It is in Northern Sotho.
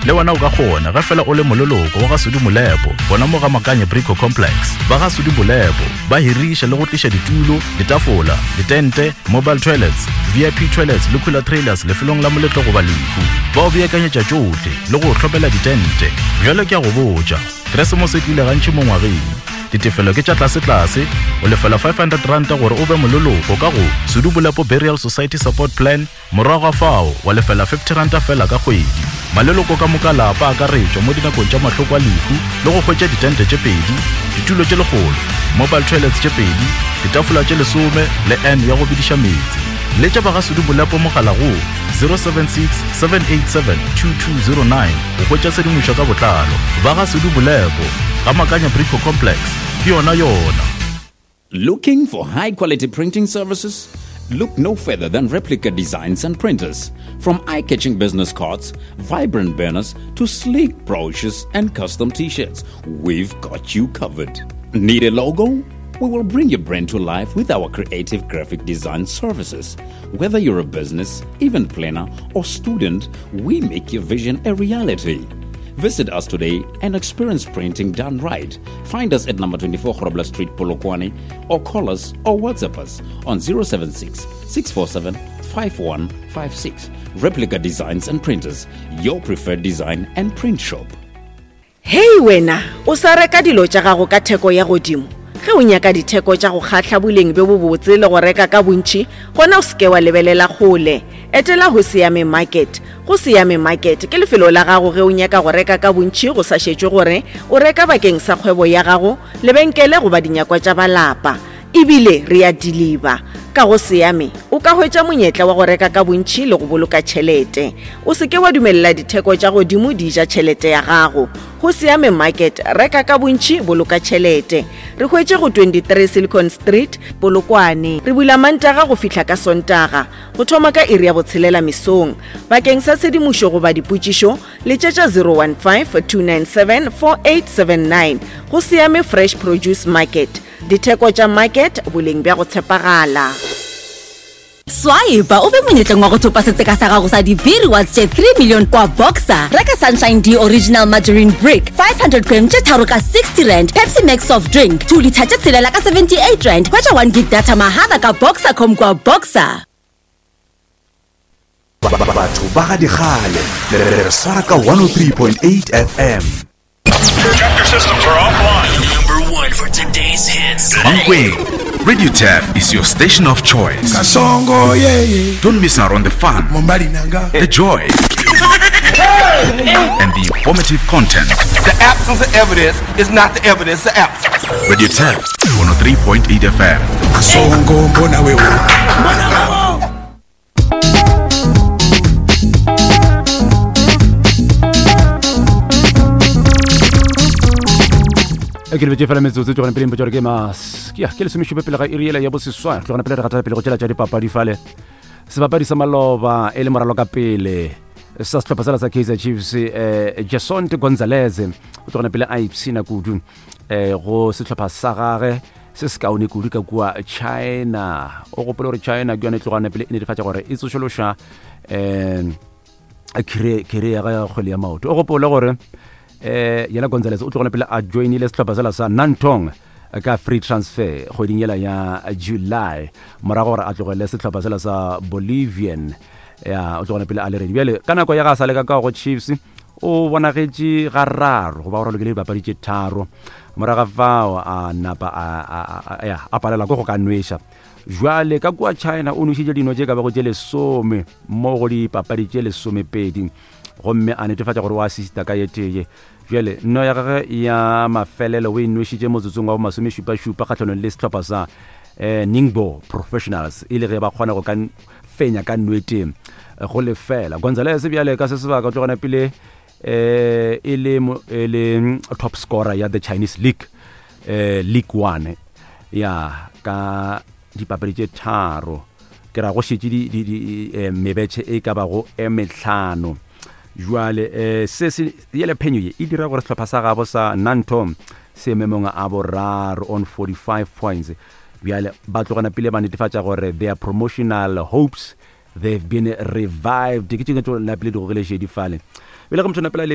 Le wena o ka kgona ge fela o le moleloko wa ga Sudi Molepo gona mo ga Makanye Brico Complex. Ba ga Sudi Molepo ba hiriša le go tliša ditulo, ditafola, ditente, mobile toilets, VIP toilets le cooler trailers lefelong la moletlo goba lehu. Ba o beakanyetša tšohle le go o hlopela ditente. Bjale ke a go botša, Keresemose e tlile gantši mo ngwageng. Ditefelo ke tša tlasetlase, o lefela R500 gore o be moleloko ka go Sudu Bolepo Burial Society Support Plan, Morago ga fao wa lefela R50 feela ka kgwedi. Maleloko ka moka lapa a akaretšwa mo dinakong tša mahloko a lehu le go hwetša ditente tše pedi, ditulo tše lekgolo, mobile toilets tše pedi, ditafola tše lesome le urn ya go bediša meetse. Letša ba ga Sudu Bolepo mogala go 076 787 2209 go hwetša tshedimošo ka botlalo. Ba ga Sudu Bolepo, ga Makanya Brico Complex, ke yona yona. Looking for high quality printing services? Look no further than Replica Designs and Printers. From eye catching business cards, vibrant banners, to sleek brochures and custom t shirts, we've got you covered. Need a logo? We will bring your brand to life with our creative graphic design services. Whether you're a business, event planner, or student, we make your vision a reality. Visit us today and experience printing done right. Find us at number 24 Grobler Street, Polokwane, or call us or WhatsApp us on 076 647 5156. Replica Designs and Printers, your preferred design and print shop. Hei wena, o sa reka dilo tša gago ka theko ya godimo? Ge o nyaka ditheko tša go kgahla boleng bjo bobotse le go reka ka bontši, gona o se ke wa lebelela kgole. Etela Hoseyame Market. Hoseyame Market ke lefelo la gago ge o nyaka go reka ka bontši go sa šetšwe gore o reka bakeng sa kgwebo ya gago, lebenkele goba dinyakwa tša ba lapa. E bile re a diliba. Ka go Seame, o ka hwetša monyetla wa go reka ka bontši le go boloka tšhelete. O se ke wa dumelela ditheko tša godimo di ja tšhelete ya gago. Go Seame Market, reka ka bontši, boloka tšhelete. Re hwetše go 23 Silicon Street, Polokwane. Re bula Mantaga go fihla ka Sontaga, go thoma ka iri ya botshelela mesong. Bakeng sa tshedimošo goba dipotšišo, letšetša 015 297 4879. Go Seame Fresh Produce Market. Ditheko tša market, boleng bja go tshepagala. Swipe o be monyetleng wa go thopa setseka sa gago sa di-V-Rewards tše 3 million kwa Boxer. Reka Sunshine D Original Margarine Brick 500 gram tše tharo ka 60 rand, Pepsi Max Soft Drink 2 litha tše tshelela ka 78 rand. Hwetša 1 gig data mahala ka Boxercom kwa Boxer. Batho ba ga dikgale le re swara ka 103.8 FM. Chapter systems are offline. Number one for today's hits. Mankweng, Radio Tap is your station of choice. Kasongo, yeah, yeah. Don't miss out on the fun, the joy, and the informative content. The absence of evidence is not the evidence of absence. Radio Tap 103.8 FM. Kasongo, mbona wewe. Mbona wewe. e ke lebetse fela metsotso tlogane pele mpotsa gore ke mas ya ke lesomešupe pele ga iri ela ya boseswa tlogane pele re gatela pele go tšela tša dipapadi fale sebapadi sa maloba e le moralo ka pele sa sehlopha sela sa kaizer chiefs eh, jason gonzalez o tlogane pele a ipshina kudu eh, go sehlopha sa gage se se kaone kudu ka kua china o gopole gore china ke yone e tlogane pele e netefatša gore e tsošološa um kere ya ga kgwele ya maoto o gopole gore um yena gonzales o tlogone pele a joinile sehlopha sela sa nantong ka free transfer kgweding yela ya july morago gore a tlogele sehlopha sela sa bolivian ya o tlogone pele a le redi bjale ka nako ya ga sa le ka ka go chiefs o bonagetše gararo goba go ralokile dipapadi tše tharo moraga fao a napa a palela ko go ka nweša jwale ka kua china o nwešitše dino tše ka bago tše lesome mo go dipapadi tše lesomepedi gomme a netefatša gore o assista ka ye tee jale nno ya gage ya mafelelo o e nwešitše motsotsong wa bomasomešupašupa kgatlhanong le sehlopha sa um ningbo professionals e le ge ba kgona go ka fenya ka nwete go lefela gonzales bjale ka se sebaka o tlogana pele eh e le e le mm, top scorer ya the Chinese League eh League 1 ya ka dipapadi tše tharo ke ra go šetše di, di, di eh, mebetšhe e ka bago e metlhano jwale eh, se se yele phenyo ye e dira gore sehlopha sa gabo sa nanto se memong a boraro on 45 points Bjale ba tlogana pele ba netefatša gore their promotional hopes they've been revived. Ke tšengwe tšo napile di gogile šedi fale. Bjale ge motho napela le